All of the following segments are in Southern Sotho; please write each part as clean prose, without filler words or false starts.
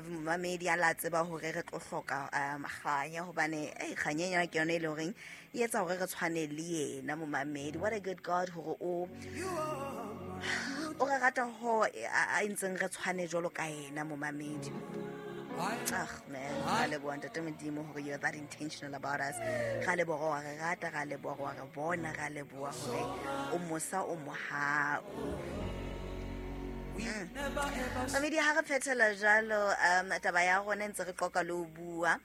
Mamedi a la tseba hore re tlo hloka kganya, hobane ei kganya ena ke yona e leng horeng e etsa hore re tshwane le yena momamedi. What a good God hore o re rata ho a entseng re tshwane jwalo ka yena momamedi. Ah man, ra leboha Ntate Modimo hore you're that intentional about us. Ra leboha wa re rata, ra leboha wa re bona, ra leboha hore o mosa, o mohau. Mamedi, ha re phethela jalo taba ya rona, ntse re qoqa le ho bua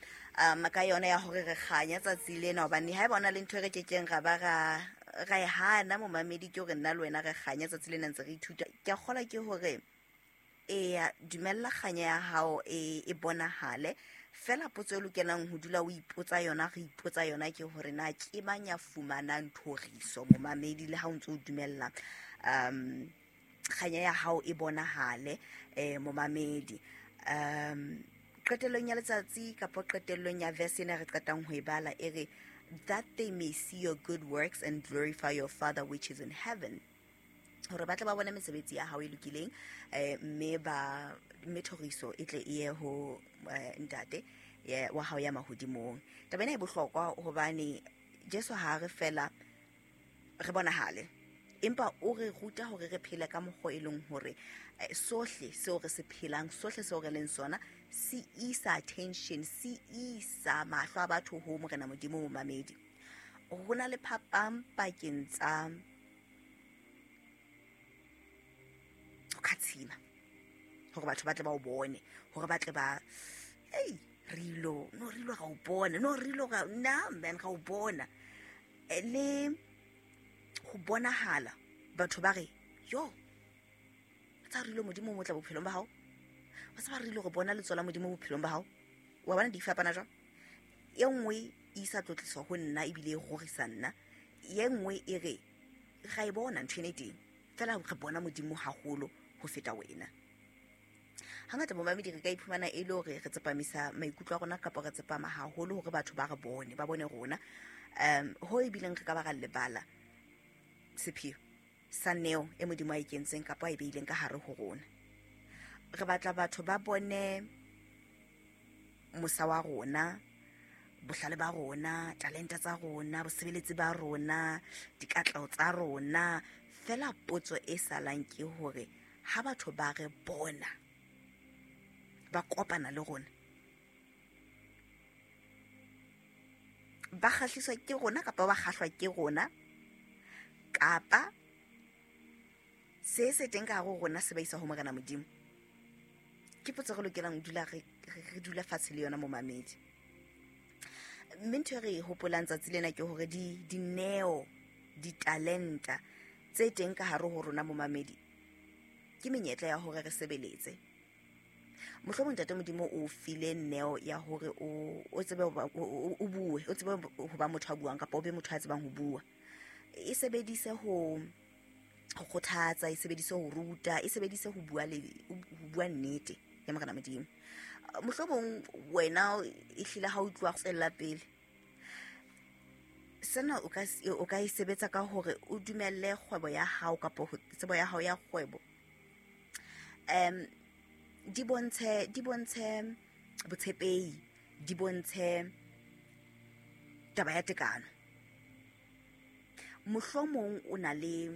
ka yona ya hore re kganya tsatsi lena, hobane ha e bona le ntho e re kekeng ra ba ra e hana momamedi, ke hore nna le wena re kganya tsatsi lena ntse re ithuta. Ke a kgolwa ke hore eya, dumella kganya ya hao e bonahale. Fela potso e lokelang ho dula o ipotsa yona, re ipotsa yona, ke hore na ke mang ya fumanang thoriso momamedi, le ha o ntso o dumella kganya ya hao e bonahale momamedi. Qetellong ya letsatsi kapa qetellong ya verse ena re qetang ho e bala, e re, "That they may see your good works and glorify your Father which is in heaven," hore ba tle ba bone mesebetsi ya hao e lokileng, mme thoriso e tle e ye ho Ntate wa hao ya mahodimong. Taba ena e bohlokwa hobane Jesu ha re fela re bonahale, empa o re ruta hore re phele ka mokgwa e leng hore sohle seo re se phelang, sohle seo re leng sona, se isa attention, se isa mahlo a batho ho Morena Modimo. Momamedi, ho na le phapang pakeng tsa ho khatshima hore batho ba tle ba o bone, hore ba tle ba ei re ilo no re ilo ra o bona, no re ilo ra na man ra o bona, le ho bonahala batho ba re yo tsa re ilo Modimo o motla bophelong ba hao, wa tseba re ilo re bona letso la Modimo bophelong ba hao. Wa bona di fapana jwang? E nngwe e isa tlotliso ho nna ebile e rorisa nna, ye nngwe e re ra e bona ntho ena e teng, fela re bona Modimo haholo ho feta wena. Hangata momamedi re ka iphumana e le hore re tsepamisa maikutlo a rona kapa re tsepama haholo hore batho ba re bone, ba bone rona, ho ebileng re ka ba ra lebala sepheo sa neo e Modimo a e kentseng kapa a e beileng ka hare ho rona. Re batla batho ba bone mosa wa rona, bohlale ba rona, talenta tsa rona, bosebeletsi ba rona, dikatleho tsa rona. Fela potso e salang ke hore ha batho ba re bona, ba kopana le rona, ba kgahliswa ke rona kapa ba kgahlwa ke rona, kapa se se teng ka hare ho rona se ba isa ho Morena Modimo? Ke potso re lokelang ho dula re dula fatshe le yona momamedi. Mme ntho e re e hopolang tsatsi lena ke hore dineo, ditalenta tse teng ka hare ho rona momamedi, ke menyetla ya hore re sebeletse. Mohlomong Ntate Modimo o file neo ya hore o tsebe o bue, o tsebe ho ba motho a buang kapa o be motho a tsebang ho bua. E sebedise ho kgothatsa, e sebedise ho ruta, e sebedise ho bua le ho bua nnete ya Morena Modimo. Mohlomong wena e hlile ha o utlwa tswella pele, sena o ka e sebetsa ka hore o dumelle kgwebo ya hao kapa tsebo ya hao ya kgwebo di bontshe botshepehi, di bontshe taba ya tekano. Mohlomong o na le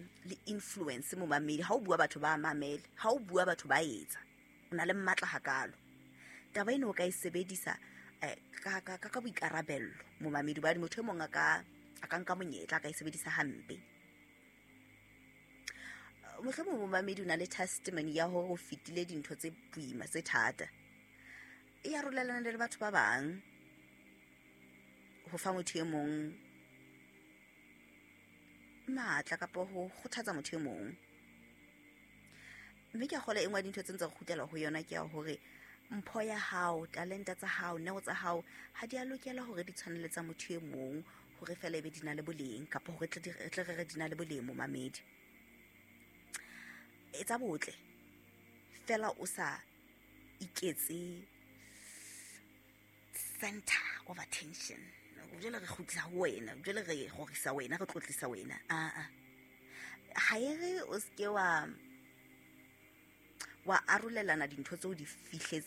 influence momamedi, ha o bua batho ba mamele, ha o bua batho ba etsa, o na le matla hakalo. Taba ena o ka e sebedisa ka boikarabello momamedi, hobane motho e mong a ka nka monyetla, a ka e sebedisa hampe. Mohlomong momamedi o na le testimony ya hore o fetile dintho tse boima, tse thata, e arolelana le batho ba bang ho fa motho e mong matla kapa ho kgothatsa motho e mong. Mme ke a kgolwa e nngwe ya dintho tse ntse re kgutlela ho yona ke ya hore mpho ya hao, talenta tsa hao, neo tsa hao ha di a lokela hore di tshwane le tsa motho e mong hore fela ebe di na le boleng, kapa hore re tle re re di na le boleng momamedi. Etsa botle fela o sa iketse center of attention. Jwale re kgutlisa ho wena, jwale re rorisa wena, re tlotlisa wena. Aa, ha e re o seke wa arolelana dintho tseo di fihletseng.